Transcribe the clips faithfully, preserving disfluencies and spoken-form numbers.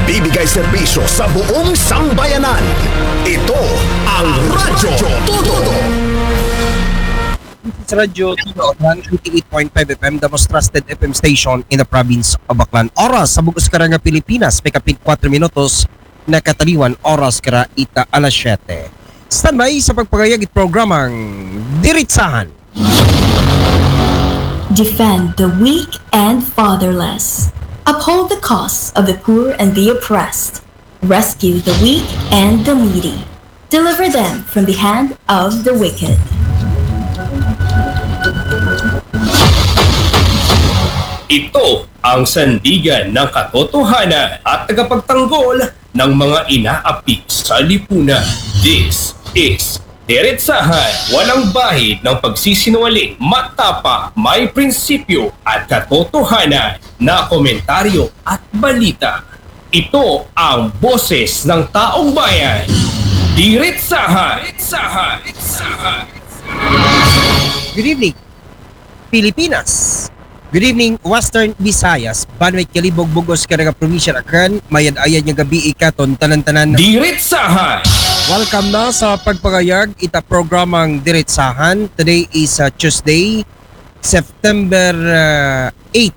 Bibigay serbisyo sa buong sambayanan. Ito ang Radyo Todo. Sa Radyo Todo, one eighty-eight point five F M, the most trusted F M station in the province of Aklan. Oras sa bug-os karang Pilipinas, may kapin kuwatro minutos na kataliwan, oras kara ita alas siyete. Standby sa pagpangayag it programang Diritsahan. Defend the weak and fatherless. Uphold the cause of the poor and the oppressed. Rescue the weak and the needy. Deliver them from the hand of the wicked. Ito ang sandigan ng katotohanan at tagapagtanggol ng mga inaapi sa lipunan. This is Diretsahan, walang bahid ng pagsisinungaling, matapa, may prinsipyo at katotohanan na komentaryo at balita. Ito ang boses ng taong bayan. Diretsahan. Diretsahan. Diretsahan. Good evening, Pilipinas. Good evening, Western Visayas. Banwa it Kalibo ug bug-os karang probinsya Aklan, mayad-ayad nga gabii katon tanan-tanan. Diretsahan. Welcome na sa pagpangayag ita programang Diretsahan. Today is uh, Tuesday, September uh, eight,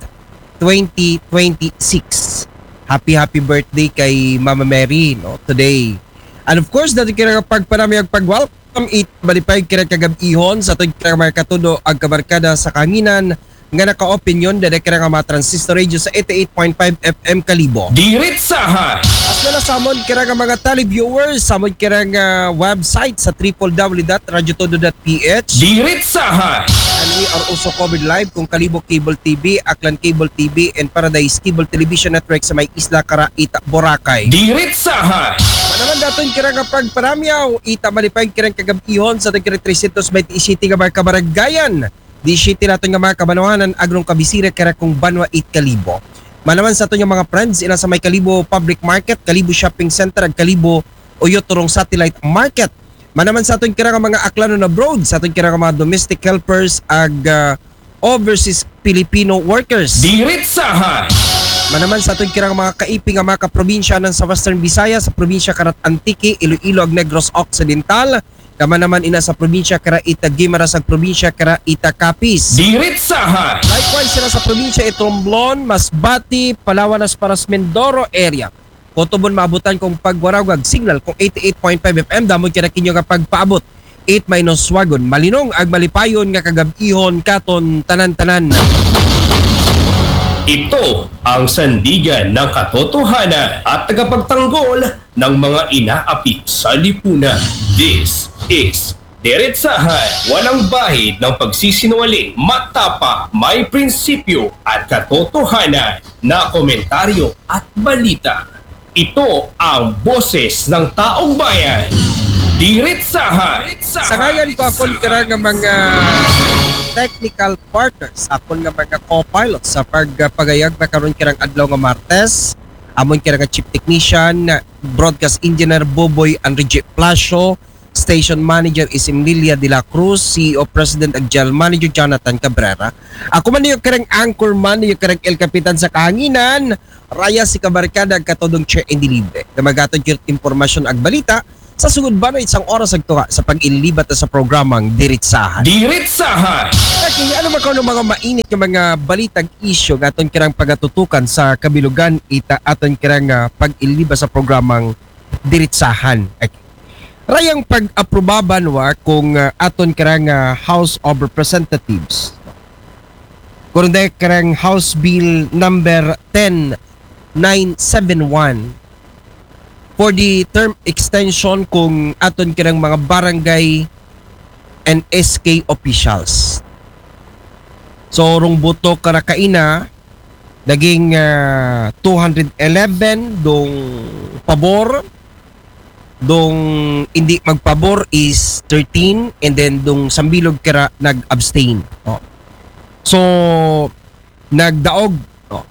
twenty twenty-six. Happy, happy birthday kay Mama Mary, no, today. And of course, dato kira pagpanamay ug pag-welcome it malipay kira kagab-ihon sa aton kira mga katudo ug kabarkada sa kahanginan nga naka-opinion dada kira nga mga transistor radio sa eighty-eight point five F M Kalibo. Diretsahan. As well as sa amon kira nga mga televiewers, sa amon kira nga website sa triple W dot radyo todo dot P H. Diretsahan. And we are also covered live kung Kalibo Cable T V, Aklan Cable T V, and Paradise Cable Television Network sa may isla kara ita Boracay. Diretsahan. Manaman daton kira nga pagparamyaw, ita malipay kira kagab-ihon sa aton kira trescientos veinte y siete nga mga kabaranggayan. Di siya naton nga mga kabanwahanan, agrong kabisira kira kung banwa it Kalibo. Manaman sa aton nga mga friends, ila sa may Kalibo Public Market, Kalibo Shopping Center, ug Kalibo Uyo Turong Satellite Market. Manaman sa aton kira nga mga Aklanon abroad, sa aton kira nga mga domestic helpers, ug ah, overseas Filipino workers. Diretsahan. Manaman sa aton kira nga mga kaipi nga mga kaprobinsya nan sa Western Visayas, sa probinsya kara it Antique, Iloilo, ug Negros Occidental, kama naman ina sa probinsya kara ita Guimaras ug probinsya kara ita Capiz. Diretsahan. Likewise sila sa probinsya it Romblon, Masbate, Palawan, as far as Mindoro area. Kung tubon maabutan kung pagwaragwag signal kung eighty-eight point five F M, damo kira kinyo nga pagpaabot. It mainoswagon, malinong ug malipayon nga kagab-ihon katon tanan-tanan. Ito ang sandigan ng katotohanan at tagapagtanggol ng mga inaapi sa lipunan. This is Diretsahan, walang bahid ng pagsisinungaling, matapa, may prinsipyo at katotohanan na komentaryo at balita. Ito ang boses ng taong bayan. Diretsahan. Sa ngayon ko, akon kira nga mga technical partners, akon nga mga co-pilots sa pagpagayag na karon kirang adlaw nga Martes, amon kira nga chief technician, broadcast engineer Boboy Enrique Plasio, station manager is Emilia de la Cruz, C E O President ug General Manager Jonathan Cabrera. Ako man niyo karang anchor man, niyo karang El Capitan sa kahanginan, raya si kabarkada ug katudong Che Indilibre. Na magatod kit impormasyon ug balita sa sugod ba na isang oras ug tuwa sa pag-ilibat sa programang Diritsahan. Diritsahan. Okay, ano man karon mga mainit nga mga balitag isyu nga aton kirang pagatutukan sa kabilugan ita aton kirang ah, pag-ilibat sa programang Diritsahan. Okay. Rayang pag-aprobaban wa kung ah, aton kirang ah, House of Representatives. Kung dahil kirang House Bill number ten nine seven one for the term extension kung aton kirang mga barangay and S K officials. So, rong boto kara kaina, naging ah, two hundred eleven dong pabor, dong hindi magpabor is thirteen, and then dong sambilog kara nag-abstain. Oh. So, nagdaog, no,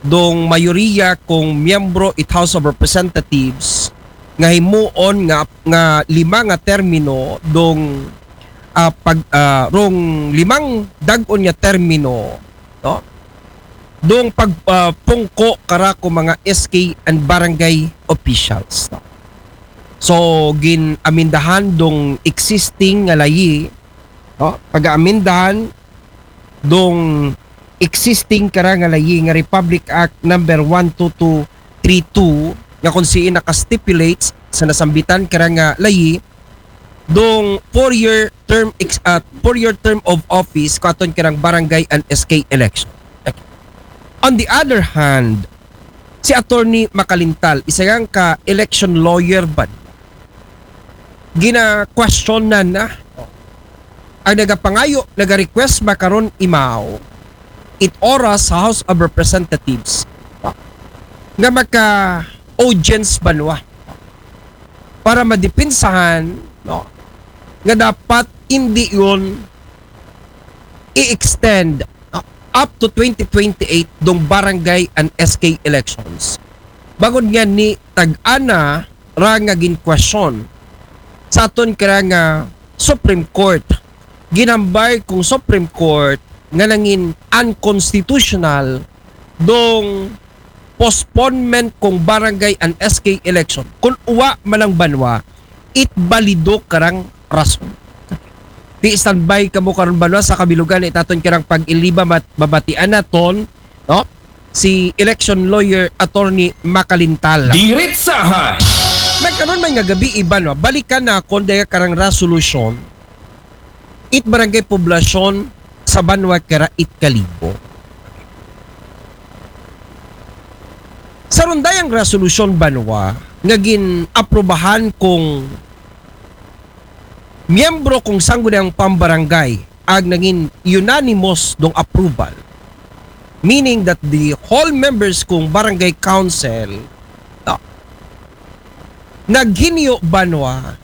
dong mayoriya kung miyembro it House of Representatives nga himuon nga nga lima nga termino dong ah, pag ah, rong limang dag-on nga termino, no, dong pagpungko kara ko mga S K and barangay officials. No? So, gin-amindahan dong existing nga layi, no? Pag-aamindahan dong existing kara nga layi nga Republic Act number one two two three two, nga kung siin naka-stipulates sa nasambitan kara nga layi, dong four-year term ex-, ah, four-year term of office ko aton kirang barangay and S K election. On the other hand, si Attorney Makalintal, isa yang ka election lawyer ba? Gina-question na na. Ang nagapangayo, naga-request makaron imaw, it oras sa House of Representatives, nga maka-audience banwa para madipinsahan, no, nga dapat hindi yun i-extend, uh, up to twenty twenty-eight dong barangay and S K elections. Bangod nga ni tag-ana ra nga ginkwestiyon sa aton kara nga Supreme Court. Ginambay kung Supreme Court nga nangin unconstitutional dong postponement kung barangay and S K election. Kung uwa man ang banwa, it balido karang rason. Di standby kamo karon banwa sa kabilugan ni taton kirang pag-iliba mat-, mabatian naton, no? Si election lawyer Attorney Makalintal. Diretsahan. Nagkaroon man nga gabi iban, no? Balikan na kung daya karang resolution it barangay poblasyon sa banwa kara it Kalibo. Sa rundayang resolusyon banwa nga gin-aprobahan kung miyembro kung sangguniang pambarangay ag nangin unanimous dong approval, meaning that the whole members kung barangay council, no, naghinyo banwa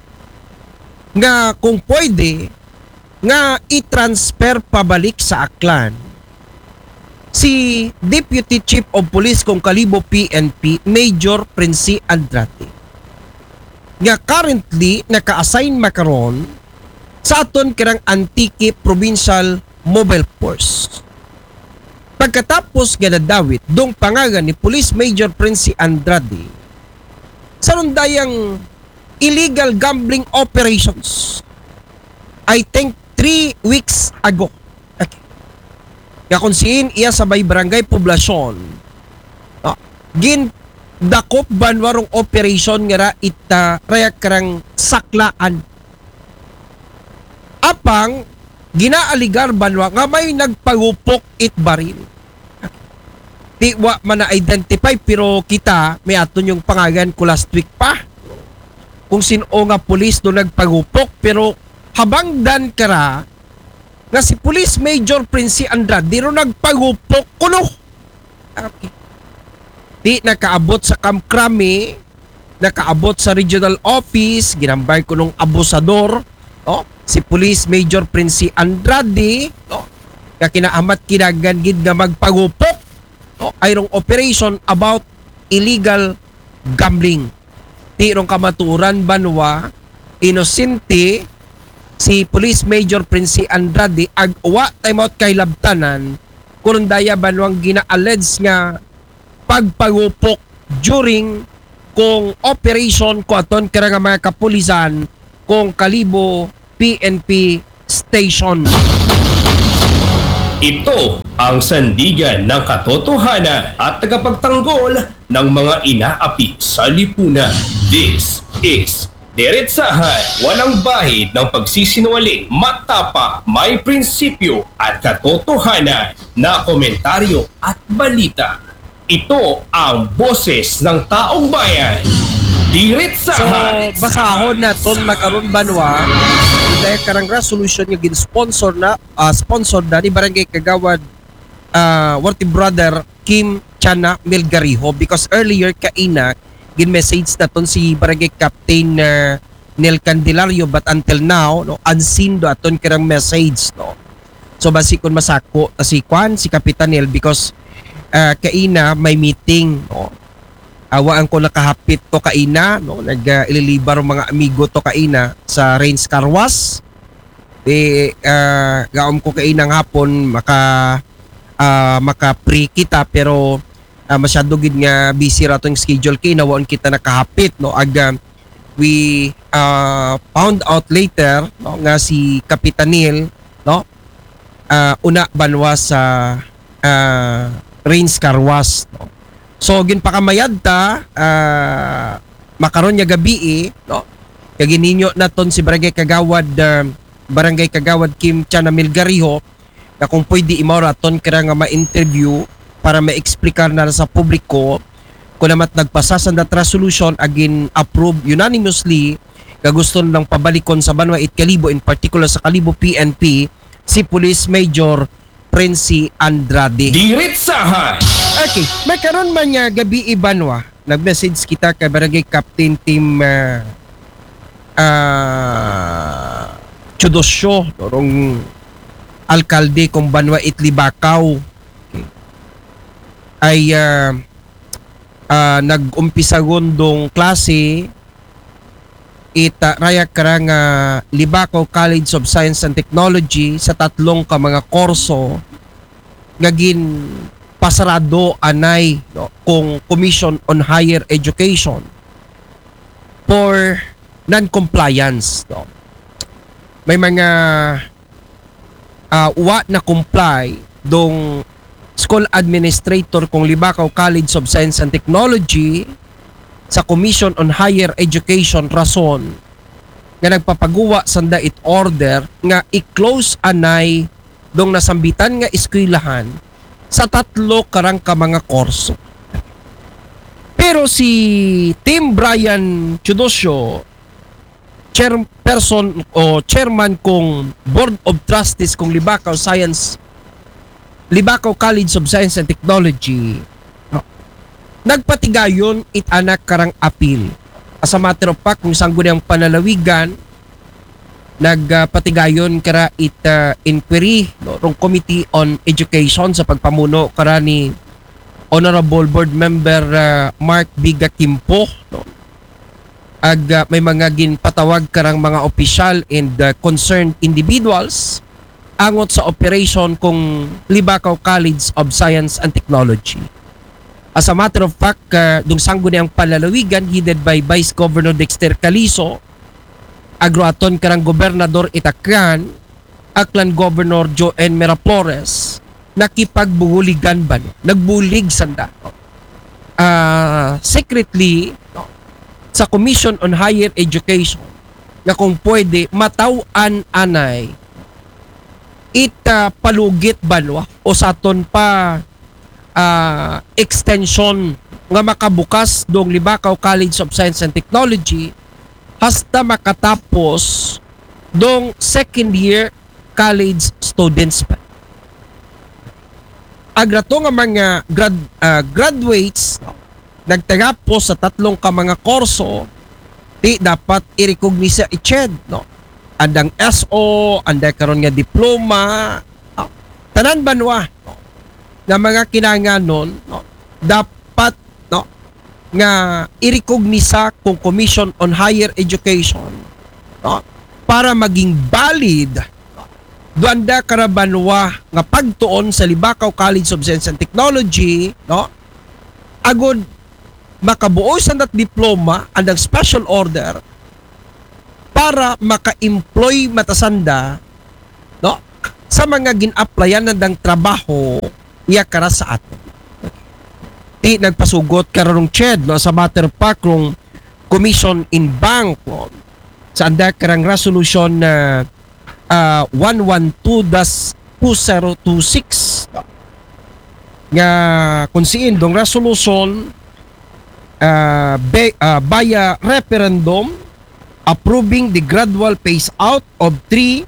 nga kung pwede nga i-transfer pabalik sa Aklan si Deputy Chief of Police kung Kalibo P N P, Major Prince Andrade, nga currently naka-assign makaron sa aton kirang Antique Provincial Mobile Force. Pagkatapos nga nadawit dong pangalan ni Police Major Prince Andrade sa rundayang illegal gambling operations, I think three weeks ago. Okay. Nga kung siin iya sa may barangay poblasyon, no, gindakop banwa rong operation nga ra ita rayak karang saklaan. Apang ginaaligar banwa nga may nagpagupok it baril. Di wa man na-identify, pero kita, may aton yung pangalan ko last week pa. Kung sino nga pulis do nagpagupok, pero habangdan kara nga si Police Major Prince Andrade ro nagpagupok kuno. Okay. Di nakaabot sa Camp Crame, nakaabot sa regional office, ginambay kunong abusador, no? Si Police Major Prince Andrade, no? Nga kinaamat kinahanglan gid nga magpagupok, no? Ay rong operation about illegal gambling. Di rong kamatuoran banwa, inosente si Police Major Prince Andrade ag wa tayo maot kay labtanan, kurundaya banwang gina-allege nga pagpagupok during kung operation ko aton kara nga mga kapulisan kung Kalibo P N P station. Ito ang sandigan ng katotohanan at tagapagtanggol ng mga inaapi sa lipunan. This is Diretsahan, walang bahid ng pagsisinungaling, matapang, may prinsipyo at katotohanan na komentaryo at balita. Ito ang boses ng taong bayan. Diretsahan. So, basahon naton makaron banwa, dahil karang resolution nga gin-sponsor na, ah, sponsor na ni Barangay Kagawad, ah, Worthy Brother Kim Chana Melgariho, because earlier kaina gin-message naton si Barangay Captain, ah, Nel Candelario, but until now, no, unseen do aton kirang message, no. So basi kun masako ta si kwan, si Kapitan Nel, because, ah, kaina may meeting, no. Awaan ko nakahapit to kaina, no. Nag, ah, ililibar ang mga amigo to kaina sa Range Carwas. Di, ah, gaom ko kainang hapon maka ah, maka-free kita, pero ah, masyado gid nga busy ra tong schedule kay nawaon kita nakahapit, no? Ag, ah, we ah, found out later, no, nga si Kapitan Neil, no, ah, una banwa sa ah, Rains Car Wash, no? So ginpakamayad ta ah, makaron nga gabii, no? Kay gininyo naton si Barangay Kagawad ah, Barangay Kagawad Kim Chana Milgariho, nga kung pwede imaw ra aton kira nga ma-interview para ma-explicar na sa publiko kung namat nagpasa sa that resolution agin approve unanimously nga gusto nilang pabalikon sa banwa it Kalibo, in particular sa Kalibo P N P, si Police Major Prince Andrade. Diritsahan! Okay, may karon man nga gabii banwa, nag-message kita kay Barangay Captain Tim ah, ah, Chudosyo, no, rong alkalde kung banwa it Libakaw. Okay. Ay ah, ah, nag-umpisa gundong klase it ah, raya kara nga Libakaw College of Science and Technology sa tatlong ka mga kurso nga ginpasarado anay, no, kung Commission on Higher Education for non-compliance, no. May mga ah, wa na comply dong school administrator kung Libakaw College of Science and Technology sa Commission on Higher Education rason nga nagpapaguwa sanda it order nga i-close anay dong nasambitan nga eskwelahan sa tatlo karang ka mga kurso. Pero si Tim Brian Chudosyo, chairperson o chairman kung Board of Trustees kung Libakaw Science, Libakaw College of Science and Technology, no, nagpatigayon it anak karang apil. As a matter of fact, kung sanggo niyang panalawigan, nagpatigayon kara it ah, inquiry, no, rong Committee on Education sa pagpamuno kara ni Honorable Board Member ah, Mark Biga Kimpo, no. Ag ah, may mga ginpatawag karang mga opisyal and ah, concerned individuals angot sa operation kung Libakaw College of Science and Technology. As a matter of fact, ah, dong sanggo niyang panlalawigan headed by Vice Governor Dexter Calizo, agruaton karang Gobernador Itakran, Aklan Governor Joe N. Miraflores, nakipagbuligan ba, nagbulig sanda ah, secretly, no, sa Commission on Higher Education nga kung pwede mataw-an anay it ah, palugit banwa o sa aton pa ah, extension nga makabukas dong Libakaw College of Science and Technology hasta makatapos dong second year college students pa. Agrato nga mga grad, ah, graduates, no, nagtagapos sa tatlong ka mga kurso, ti dapat i-recognize i-ched, no? Andang S O, anda karon nga diploma, no? Tanan banwa, no, nga mga kinanganon, no, dapat, no, nga i-recognize kung Commission on Higher Education, no, para maging valid, no, duanda kara banwa nga pagtuon sa Libakaw College of Science and Technology, no, agud makabuo sanda't diploma andang special order para maka-employ matasanda, no, sa mga gin-applyan nandang trabaho iya kara sa aton. Ti nagpasugot karong ched, no, sa matter pa kung Commission in Bank, no, sa anda karang resolution na ah, one one two dash two zero two six, no, nga kung siin dong resolution ah, be, ah, via referendum approving the gradual phase out of three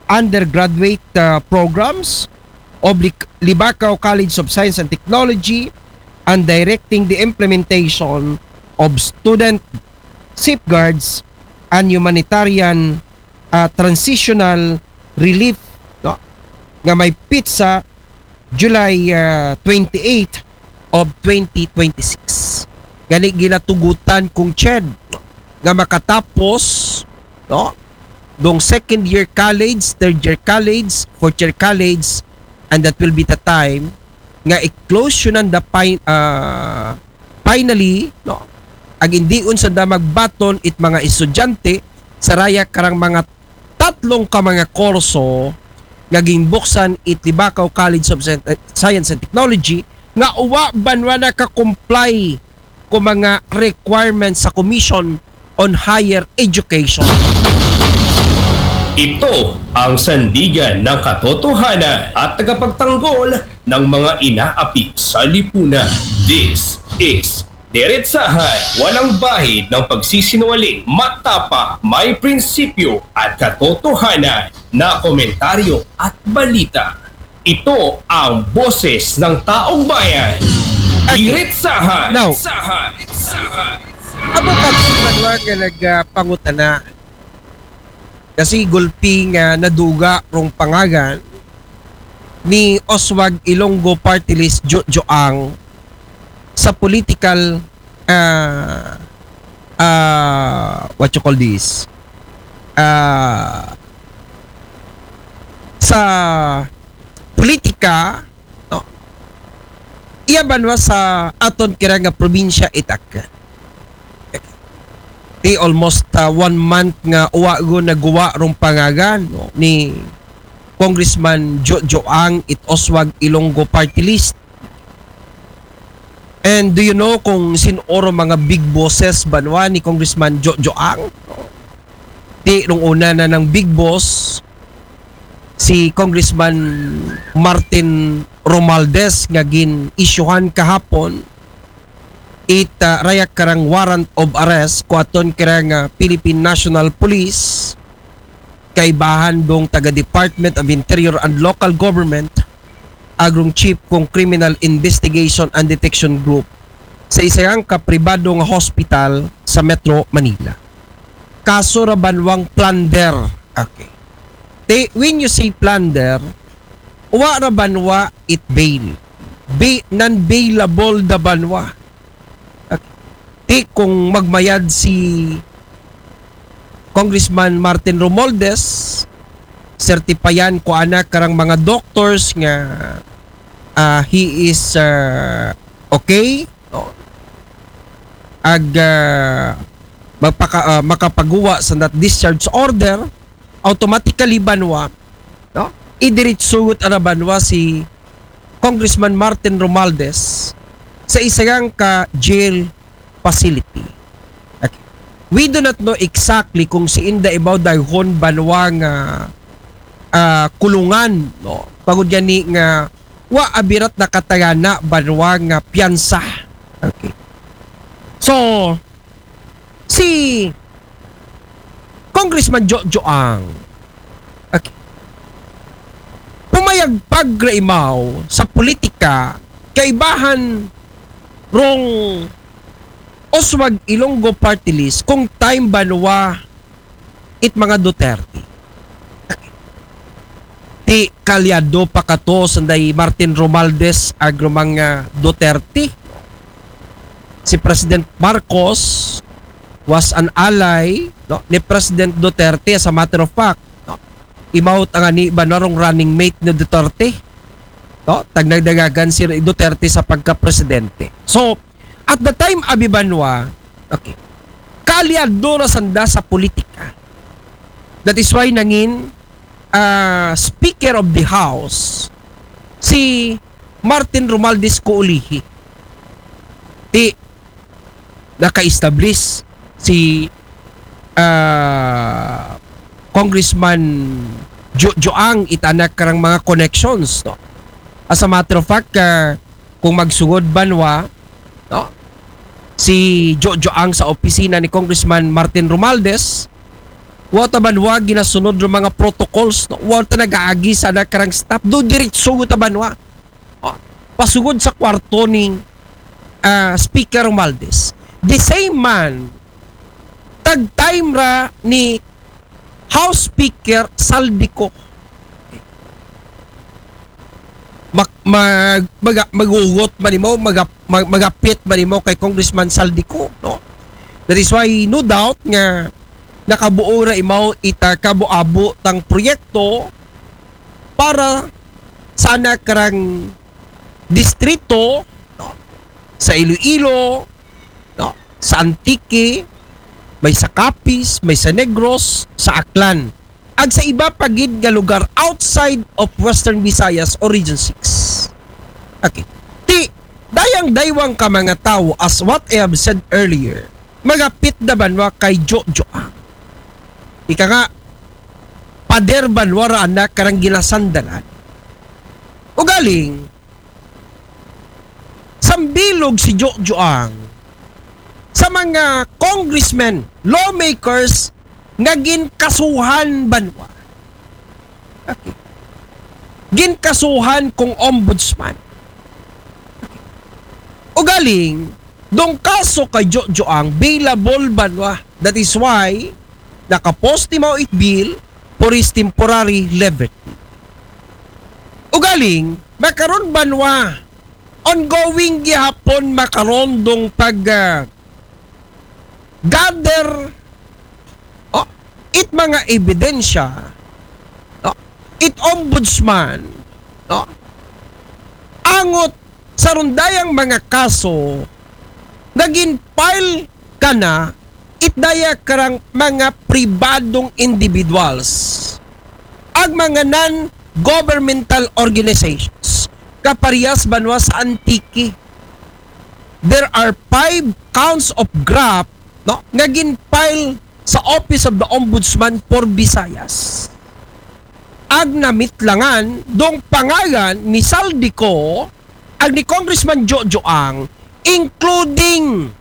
undergraduate ah, programs of Li- Libacao College of Science and Technology and directing the implementation of student safeguards and humanitarian ah, transitional relief, no, nga may petsa July ah, twenty-eight of twenty twenty-six. Gani ginatugutan kung ched nga makatapos, no, dong second year college, third year college, fourth year college, and that will be the time nga i-close yun the pin-, ah, finally, no? Ag indiun sanda magbaton it mga estudyante sa raya karang mga tatlong ka mga kurso nga ginbuksan it Libacao College of Sci-, Science and Technology nga uwa banwa naka-comply ko mga requirements sa Commission on Higher Education. Ito ang sandigan ng katotohanan at tagapagtanggol ng mga inaapi sa lipunan. This is Diretsahan, walang bahid ng pagsisinungaling, matapang, may prinsipyo at katotohanan na komentaryo at balita. Ito ang boses ng taong bayan. Diretsahan. Now, Sahan. Sahan. Amo pa nga nagpangutana kasi gulpi nga naduga rong pangagan ni Oswag Ilonggo Party List Jojoang sa political, ah, ah, what you call this? Ah, sa politika, no? Iya banwa sa aton kira nga probinsya itak. Ti almost, ah, one month nga uwa go naguwa rong pangagan, no, ni Congressman Jojoang it Oswag Ilonggo Party List. And do you know kung sin-o ro mga big bosses banwa ni Congressman Jojoang? Ti rong una na ng big boss si Congressman Martin Romualdez nga gin-isyuhan kahapon it, ah, raya karang warrant of arrest ko aton karang, ah, Philippine National Police kaibahan dong taga Department of Interior and Local Government, ag rong chief kong Criminal Investigation and Detection Group sa isang kapribado nga hospital sa Metro Manila. Kaso ra banwang plunder. Okay. Te, when you say plunder, wa ra banwa it bail. Be, non-bailable da banwa. Okay. Te, kung magmayad si Congressman Martin Romualdez, certifyan ko ana karang mga doctors nga, ah, he is, ah, okay, no? Ag, ah, magpaka-, ah, makapaguwa sa that discharge order, automatically banwa, no? Idiritsugot ana banwa si Congressman Martin Romualdez sa isang ka jail facility. Okay. We do not know exactly kung siin da ibaw dayhon banwa nga, ah, kulungan, no? Pagod gani nga wa abirat nakatagana banwa nga piyansa. Okay. So, si Congressman Jojoang, okay, pumayag pagraimaw sa politika kaibahan rong Oswag Ilonggo Party List kung time banwa it mga Duterte. Ti kalyado pa kato sanday Martin Romualdez ag rong mga Duterte. Si President Marcos was an ally, no, ni President Duterte, as a matter of fact, no? Imaw ta ngani banwa rong running mate ni Duterte, no? Tagnagdagagan si Duterte sa pagka-presidente. So, at the time, abi banwa, okay, kaalyado ra sanda sa politika. That is why nangin, ah, Speaker of the House si Martin Romualdez Koulihi. Ti naka-establish si, ah, Congressman Jojoang it ana karang mga connections, no? As a matter of fact, ah, kung magsugod banwa, no, si Jojoang sa opisina ni Congressman Martin Romualdez, wa ta banwa ginasunod rong mga protocols, no? Wa ta nagaagi sa ana karang staff. Do diritso ta banwa. Oh, pasugod sa kwarto ni, ah, Speaker Romualdez. The same man, tag time ra ni House Speaker Zaldy Co. Mag, mag, mag, magugot man nimo, mag, mag, magapit man nimo kay Congressman Zaldy Co, no? That is why, no doubt nga nakabuo ra imaw ita kabo-abo tang proyekto para sana karang distrito, no? Sa Iloilo, no? Sa Antique, may sa Capiz, may sa Negros, sa Aklan. Ag sa iba pa gid nga lugar outside of Western Visayas o Region six. Okay. Ti, dayang daywang ka mga tao, as what I have said earlier, magapit na banwa kay Jojo. Ika nga, pader banwa ra anak karang ginasandalan. Ugaling, sambilog si Jojo Ang sa mga congressmen, lawmakers nga ginkasuhan banwa. Okay. Ginkasuhan kung ombudsman. Ugaling, dong kaso kay Jojo Ang bailable banwa. That is why nakapost ni Mao it bill for his temporary liberty. Ugaling, makaron banwa, ongoing gihapon makaron dong pag ah, gather, oh, it mga ebidensya, no? It ombudsman, no? Angot sa rundayang mga kaso naging file kana it daya karang mga pribadong individuals, ag mga non-governmental organizations, kaparehas banwa sa Antique. There are five counts of graft, no, nga gin-file sa Office of the Ombudsman for Visayas. Ag namitlangan dong pangalan ni Zaldy Co ag ni Congressman Jojo Ang, including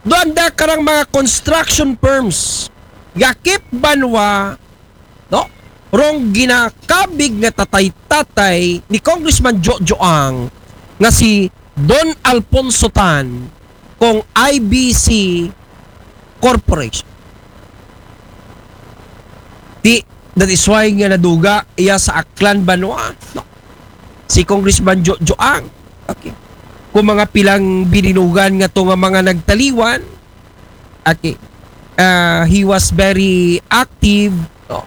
doon da karang mga construction firms, yakip banwa, no? Rong ginakabig nga tatay-tatay ni Congressman Jojo Ang nga si Don Alfonso Tan kong I B C Corporation. Di, that is why nga naduga iya sa Aklan banwa, no? Si Congressman Jojo Ang. Okay. Kung mga pilang bininugan nga to nga mga nagtaliwan, okay. Ah, he was very active, no?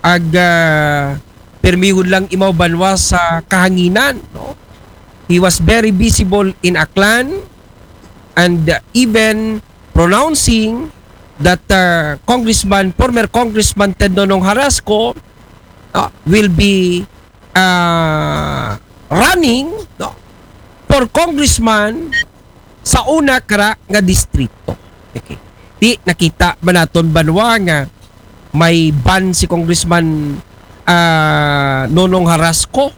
Ag ah, permihon lang imaw banwa sa kahanginan, no? He was very visible in Aklan and uh, even pronouncing that uh, Congressman, former Congressman Ted Nonong Harasco uh, will be uh, running, no, for congressman sa una kara nga distrito. Okay. Di nakita ba naton banwa nga may ban si Congressman ah, Nonong Harasco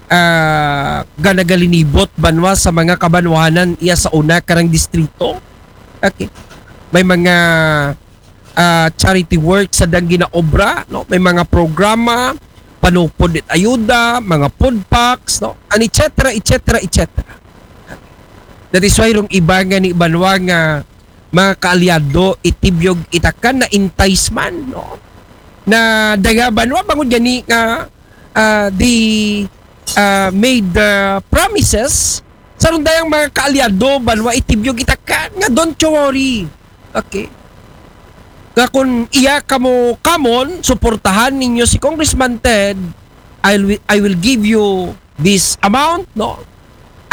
ah, nga nagalinibot banwa sa mga kabanwahanan iya sa una karang distrito? Okay. May mga ah, charity work sa dang ginaobra, no? May mga programa, panupod it ayuda, mga food packs, no? And et cetera, et cetera, et cetera. That is why rong iba nga ni banwa nga mga kaalyado, itibyog itakan na enticement, no? Na daga banwa bangod gani nga ah, they ah, made ah, promises sa rundayang mga kaalyado banwa itibyog itakan nga don't you worry. Okay. Nga kung iya kamo kamon, suportahan ninyo si Congressman Ted, I will, I will give you this amount, no?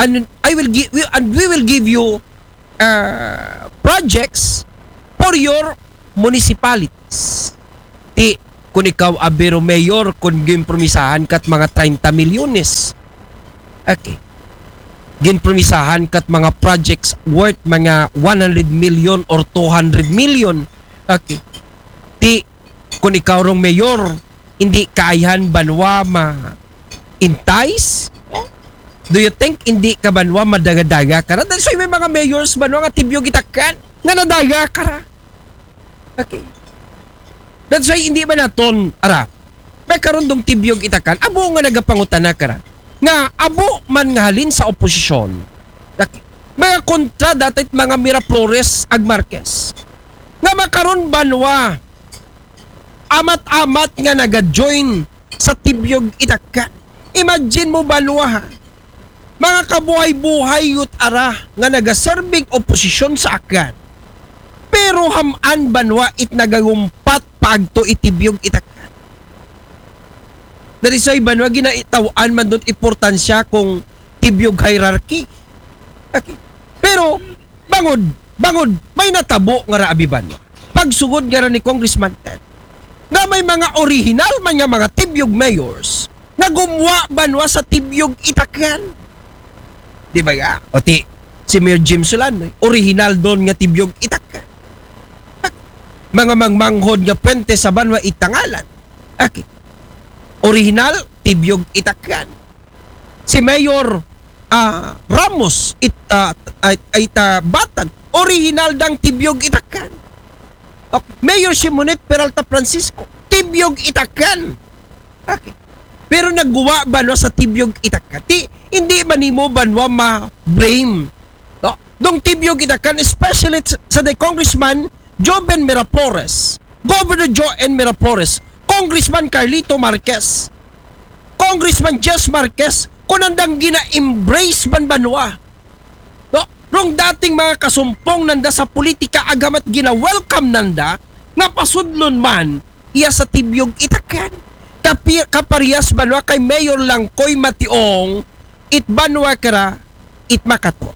And I will give, and we will give you uh, projects for your municipalities. Ti, kung ikaw abiro mayor, kung ginpromisahan kat mga treinta milyones. Okay. Ginpromisahan kat mga projects worth mga one hundred million or two hundred million. Okay. Ti, kung ikaw rong mayor, hindi kaayahan banwa ma entice? Do you think hindi ka banwa madagadaga ka ra? That's why may mga mayors banwa nga tibyog itakan nga nadaga ka ra. Okay. That's why hindi ba naton, ara, may karundong tibyog itakan, abo nga nagapangutana ka ra. Nga, abo man nga halin sa oposisyon. Okay. Mga kontra dati mga Miraflores ag Marquez. Nga makaron banwa, amat-amat nga naga-join sa tibyog itakan. Imagine mo banwa ha. Mga kabuhay-buhay yut ara nga nagaserbing oposisyon sa Aklan. Pero hamaan banwa it nagagumpat paagto itibyog itakan. Dari sa iban, wa ginaitaw-an man doon importansya kung tibyog hierarchy. Okay. Pero, bangod, bangod, may natabo nga ra abi banwa. Pagsugod nga ra ni Congressman Ted, nga may mga original man nga mga tibyog mayors nga gumuwa banwa sa tibyog itakyan. Di ba ya? O ti, si Mayor Jim Solano, original doon nga tibyog itakyan. Mga mangmanghod nga puwente sa banwa itangalan. Okay. Original, tibyog itakyan. Si Mayor ah, Ramos it, ah, ay, ay ta, Batan, original dang tibyog itakyan. Okay. Mayor Simonet Peralta Francisco, tibyog itakyan. Okay. Pero nagguwa banwa sa tibyog itakyan. Ti, hindi man nimo banwa ma-blame. No? Dong tibyog itakyan, especially sa, sa the Congressman Joven Miraflores, Governor Joven Miraflores, Congressman Carlito Marquez, Congressman Jess Marquez, kung nandang gina-embrace man banwa. No? Rong dating mga kasumpong nanda sa politika, agamat gina-welcome nanda, nga pasudlon man, iya sa tibyog itakyan. Kapi-, kaparehas banwa kay Mayor Langkoy Mationg, it banwa kara, it Makato.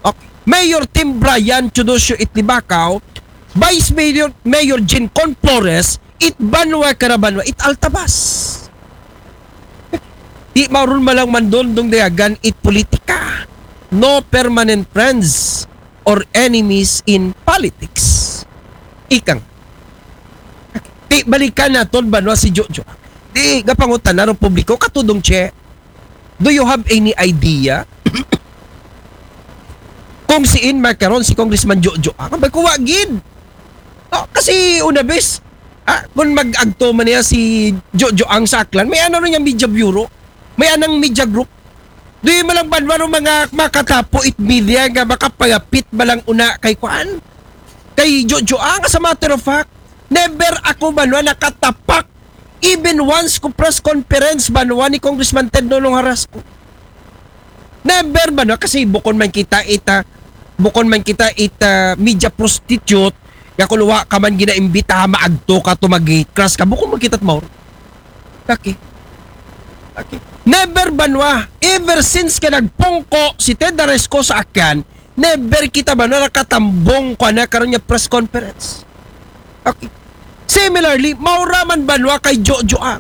Okay. Mayor Tim Brian Teodosio it Libacao, Vice Mayor, Mayor Jean Con Flores, it banwa kara banwa, it Altabas. Di mauron malang mandondong dayagan it politika. No permanent friends or enemies in politics. Ikang. Di balikan naton banwa si Jojo. Di gapangutan na publiko, katudong Che. Do you have any idea kung siin makaron si Congressman Jojo Ang? Abay, kuwa gid. Oh, kasi una bes, ah, kung mag-agto man niya si Jojo Ang sa Aklan, may ano rin yung media bureau, may anang media group. Do you malang banwa ng mga makatapo it media nga makapayapit malang una kay kuan? Kay Jojo Ang, as a matter of fact, never ako banwa nakatapak even once ko press conference banwa ni Congressman Ted Nonong Harasco. Never banwa, kasi bukon man kita ita, bukon man kita ita media prostitute, nga kung wa ka man ginaimbita, maagto ka to, mag-crash ka, bukon man kita maor. Okay. Okay. Never banwa, ever since ka nagpungko si Ted Harasco sa akin, never kita banwa nakatambong ko na karon niya press conference. Okay. Similarly, maura man banwa kay Jojo Ang.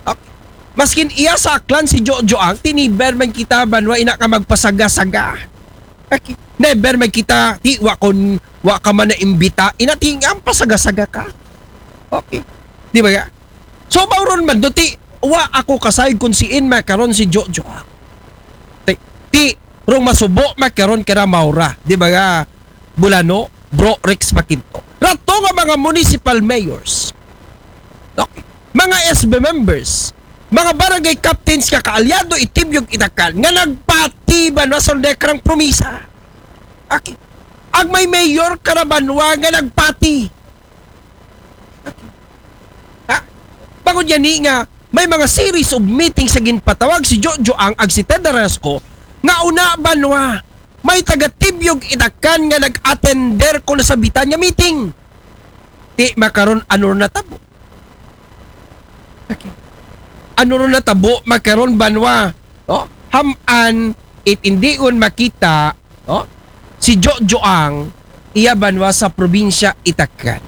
Okay. Maskin iya sa Aklan si Jojo Ang, tiniber man kita banwa ina ka magpasaga-saga. Okay. Never man kita, ti, wa kon, wa ka man na imbita, ina ti ang pasaga-saga ka. Okay. Di ba ya? So, mauron man do, ti, wa ako kasay kung siin makaron si Jojo Ang. Ti, ti, rong masubo makaron kara maura. Di ba ya? Bulano, Bro Rex Makinto. Rato nga mga municipal mayors, okay, mga S B members, mga barangay captains nga kaalyado it tibyog itakyan nga nagpati banwa sa dekrang promisa. Okay. Ang may mayor kara banwa nga nagpati. Okay. Ha? Bangod yan ni nga may mga series of meetings sa ginpatawag si Jojo Ang ag si Ted Harasco nga una banwa may taga tibyog itakyan nga nag-attender ko na sa bitan nga meeting. Ti makaron ano na tabo? Okay. Ano ron natabo makaron banwa? No? Haman it indion makita, no? Si Jojo Ang iya banwa sa probinsya Itakyan.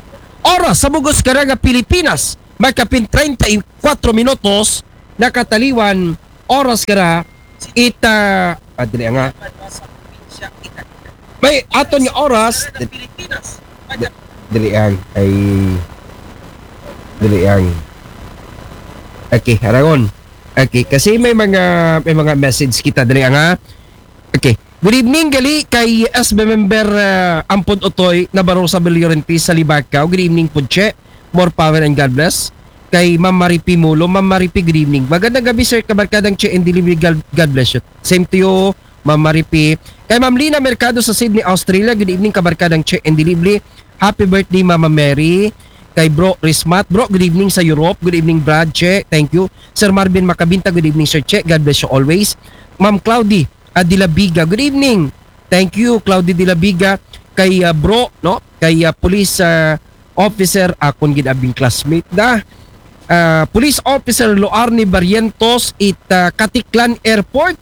Oras sa bugos kara nga Pilipinas, magkapin treinta y cuatro minutos, nakataliwan oras kara ita, ah, dili nga. May aton nga oras. Di-, dili ang, ay, dili ang. Okay, arangon. Okay, kasi may mga, may mga message kita dili ang, ha? Okay. Good evening, gali kay S B member, ah, Ampon Otoy Nabarosa Bellorente sa Libacao. Good evening po, Che. More power and God bless. Kay Ma'am Maripi Mulo. Ma'am Maripi, good evening. Magandang gabi, sir. Kabarkadang Che and Delivery. God, God bless you. Same to you, Ma'am Maripi. Kay Ma'am Lina Mercado sa Sydney, Australia. Good evening, Kabarkadang Che and Delivery. Happy birthday, Mama Mary. Kay Bro Rismat. Bro, good evening sa Europe. Good evening, Brad Che. Thank you. Sir Marvin Macabinta, good evening, Sir Che. God bless you always. Ma'am Cloudy, ah, Dilabiga, good evening. Thank you, Cloudy Dilabiga. Kay, ah, Bro, no? Kay, ah, Police, ah, Officer, akon gid abing classmate da. ah, Police Officer Loarne Barrientos it ah, Caticlan Airport.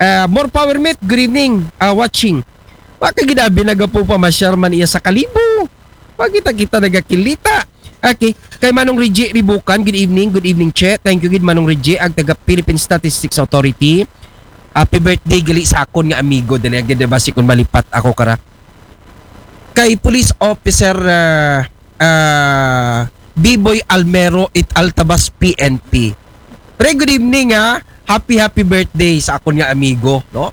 Ah, more power, mate. Good evening. Ah, watching. Wa ka gid abi nagapo pa masyar man iya sa Kalibo. Wa kita-kita nagakilita. Okay. Kay Manong Reggie Ribukan, good evening, good evening, Che. Thank you gid, Manong Reggie, ag taga Philippine Statistics Authority. Happy birthday gali sa akon nga amigo. Dali agad, diba, si kun malipat ako kara. Kay Police Officer ah, ah, Biboy Almero it Altabas P N P. Pre, good evening, ha. Happy, happy birthday sa akon nga amigo, no?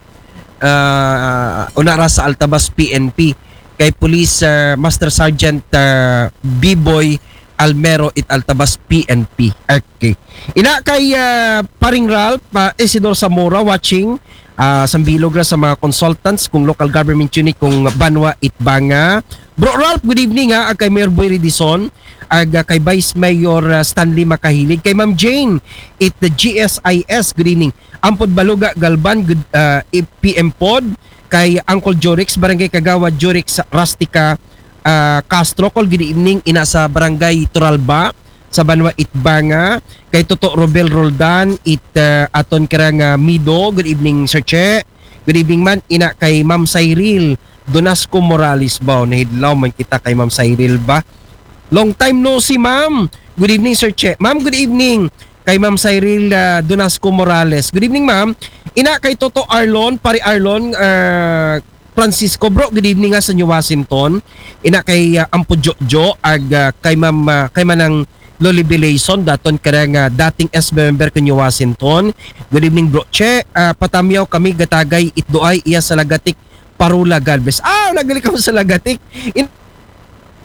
Ah, una ra sa Altabas P N P. Kay Police ah, Master Sergeant ah, Biboy Almero it Altabas P N P. Okay. Ina kay ah, Paring Ralph, ah, Isidor Zamora watching. Ah, sambilog ra sa mga consultants kung local government unit kung Banwa it Banga. Bro Ralph, good evening, ha. Ag kay Mayor Boy Redison, ag ah, kay Vice Mayor ah, Stanley Makahilig, kay Ma'am Jane it the G S I S, good evening. Ampod Baluga Galban, good ah, P M pod, kay Uncle Jorix, Barangay Kagawad Jorix Rustica ah, Castro, call, good evening, ina sa Barangay Turalba sa Banwa it Banga. Kay Toto Robel Roldan it ah, aton kara nga Mido, good evening, Sir Che. Good evening man, ina kay Ma'am Cyril Donasco Morales ba. Nahidlaw man kita kay Ma'am Cyril ba. Long time no see, ma'am. Good evening, Sir Che. Ma'am, good evening. Kay Ma'am Cyril ah, Donasco Morales. Good evening, ma'am. Ina kay Toto Arlon, Pare Arlon, ah, Francisco, bro, good evening nga sa New Washington. Ina kay ah, Ampo Jojo, ag ah, kay Ma'am, ah, kay Manang Loli Belation, daton kara nga dating S B member ko New Washington. Good evening, bro Che. Ah, patamyaw kami gatagay itdoay iya sa Lagatik, Parula, God bless. Ah, nagali ka sa Lagatik. In